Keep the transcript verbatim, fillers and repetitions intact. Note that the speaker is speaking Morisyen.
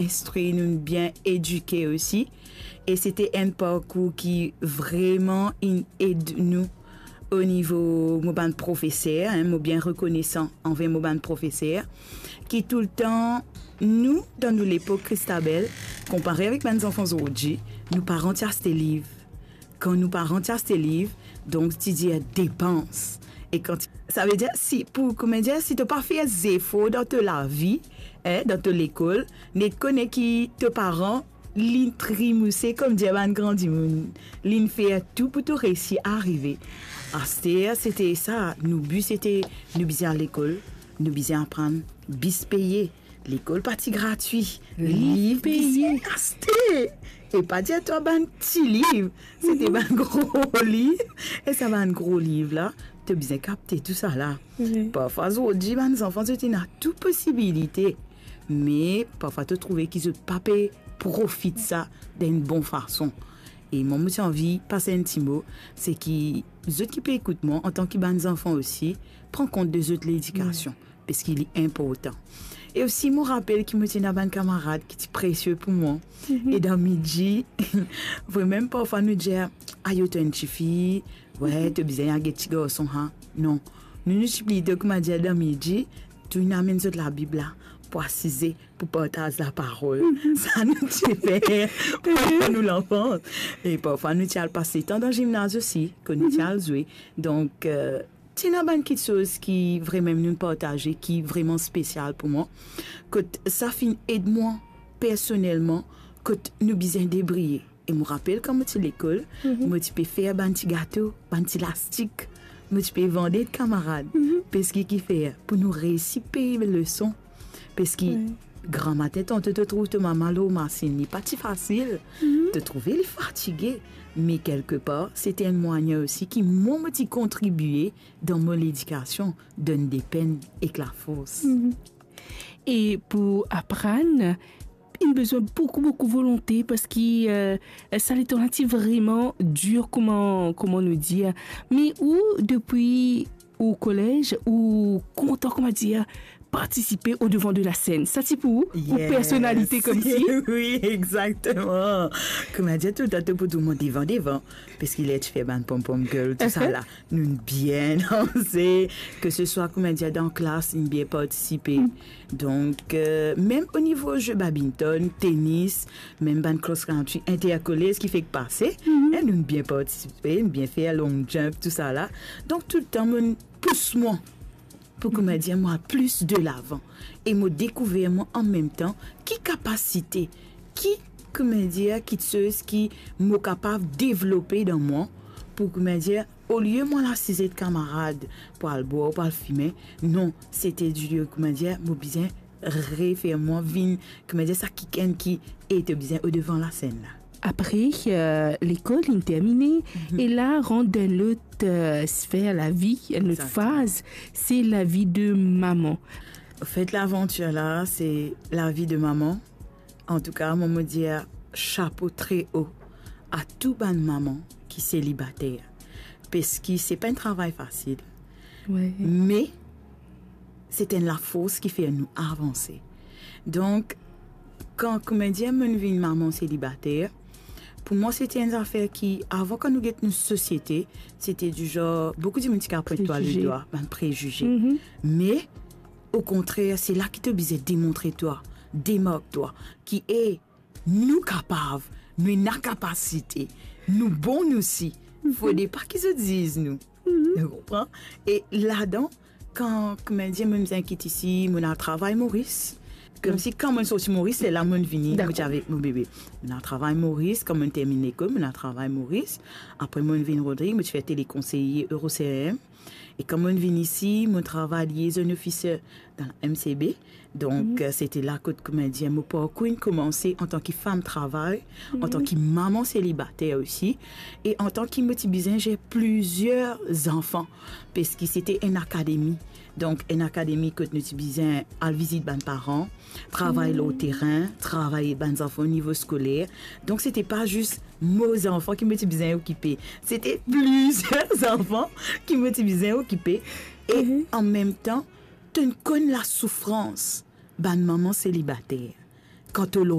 instwi, nou'nn bien edike osi. E se ti enn parkour ki vreman inn ed nou o nivo mo bann profeser, en, mo bien rekonesan anver mo bann profeser, ki toultan, nou, dan nou lepok, Christabel, konpare avek bann zanfan zordi, nou paran ti aste liv. Kan nou paran ti aste liv, donk ti dir depans. E kan ti, savedir, si, pou, kouma dir, si to pa fer zefor dan to lavi, en, dan to lekol, net kone ki to paran, linn trimouse, kouma dir bann gran dimoun, linn fer tou pou to resi arive. Aster, se ti sa, nou bi se ti, nou bizin al lekol, nou bizin aprann, bis peye, lekol pa ti gratwi, liv bizin aste. E pa dir twa bann ti liv, se ti bann gro liv. E sa bann gro liv la, to bizin kapte tou sa la. Parfwa, zordi, bann zanfan, zot ena tou posibilite. Me parfwa, to trouve ki zot pa pe profit sa dan enn bon fason. E mwa, mo ti anvi pas enn ti mo, se ki zot ki pe ekout mwa, antan ki bann zanfan osi, pran kont de zot ledikasion, parski li inportan. E osi, mo rapel ki mo ti ena bann kamarad ki ti presie pou mwa. E dan midi, vremem parfwa nou dir, "Ayo, to enn tifi, we, to bizin al get ti garson, ha?" Non. Nou, nou ti plito, kouma dir, dan midi, tou inn amenn zot Labib la, pou asize, pou partaz laparol. Sa nou ti fer pandan nou lanfans. E parfwa, nou ti al pas letan dan zimnaz osi, kan nou ti al zwe. Donk, eh, ti ena bann kiksoz ki vremem nou partaze, ki vreman spesial pou mwa. Kot sa finn ed mwa personelman, kot nou bizin debriye. E mo rapel kan mo ti lekol, mo ti pe fer bann ti gato, bann ti lastik, mo ti pe vande kamarad. Parski kifer? Pou nou resi pey leson. Parski gramatin, tanto to trouv to mama lor masinn, li pa ti fasil. To trouve li fatige. Me kelkepar, se ti enn mwayin osi ki mwa mo ti kontribie dan mo ledikasion, donn depenn ek lafors. E pou aprann, inn bizin boukou, boukou volonte, parski, eh, sa letan la ti vreman dir, kouma, kouma nou dir. Me ou, depi ou kolez, ou kontan, kouma dir, partisipe o devan de la sinn. Sa ti pou ou, ou personalite koumsi? Wi, exakteman. Kouma dir, toultan to pou dir mwa devan, devan. Parski ler ti fer bann pom-pom girl, tou sa la, nou bien danse, ke se swa, kouma dir, dan klas, nou bien partisipe. Donk, eh, mem o nivo ze badminton, tenis, mem bann cross country, intercollege ki fek pase, eh, nou bien partisipe, nou bien fer long jump, tou sa la. Donk, toultan, mo pous mwa pou, kouma dir, mo al plis delavan. E mo dekouver mwa anmemtan ki kapasite, ki, kouma dir, kiksoz ki mo kapav devlope dan mwa, pou, kouma dir, olie mo al asize ek kamarad pou al bwar, pou al fime, non, se ti dir, kouma dir, mo bizin refer mwa vinn, kouma dir, sa kikenn ki, e to bizin o devan lasinn la. Apre, eh, lekol inn termine, e la rant dan lot, eh, sfer lavi, lot faz, se lavi de mama. Anfet, lavantir la, se lavi de mama. Antouka, mwa, mo dir sapo tre o a tou bann mama ki selibater. Parski se pa enn travay fasil. Me se ti enn lafors ki fer nou avanse. Donk, kan, kouma dir, mo'nn vinn mama selibater, pou mwa, se ti enn zafer ki, avan, kan nou get nou sosiete, se ti dizon, boukou dimoun ti kav pwint twa ledwa, bann prezize. Me, okontrer, se la ki to bizin demontre twa, demark twa, ki, e, nou kapav, nou ena kapasite, nou bon nou si. Fode pa ki zot ziz nou. Ou konpran? E ladan, kan, kouma dir, mo'nn vinn kit isi, mo'nn al travay Moris. Koumsi kan mo'nn sorti Moris, se la mo'nn vini, mo ti avek mo bebe. Mo'nn al travay Moris, kan mo'nn terminn lekol, mo'nn al travay Moris. Apre mo'nn vinn Rodrig, mo ti fer telekonseye Euro C R M. E kan mo'nn vinn isi, mo'nn travay liaison officer dan la M C B. Donk, eh, se ti la kot, kouma dir, mo parkour inn koumanse antan ki fam travay, antan ki mama selibater osi, e antan ki mo ti bizin zer plizier zanfan, parski se ti enn akademi. Donk, enn akademi kot nou ti bizin al vizit bann paran, travay lor terin, travay bann zanfan o nivo skoler. Donk, se ti pa zis mo zanfan ki mo ti bizin okipe. Se ti plizier zanfan ki mo ti bizin okipe. E anmemtan, to'nn konn lasoufrans bann mama selibater. Kan to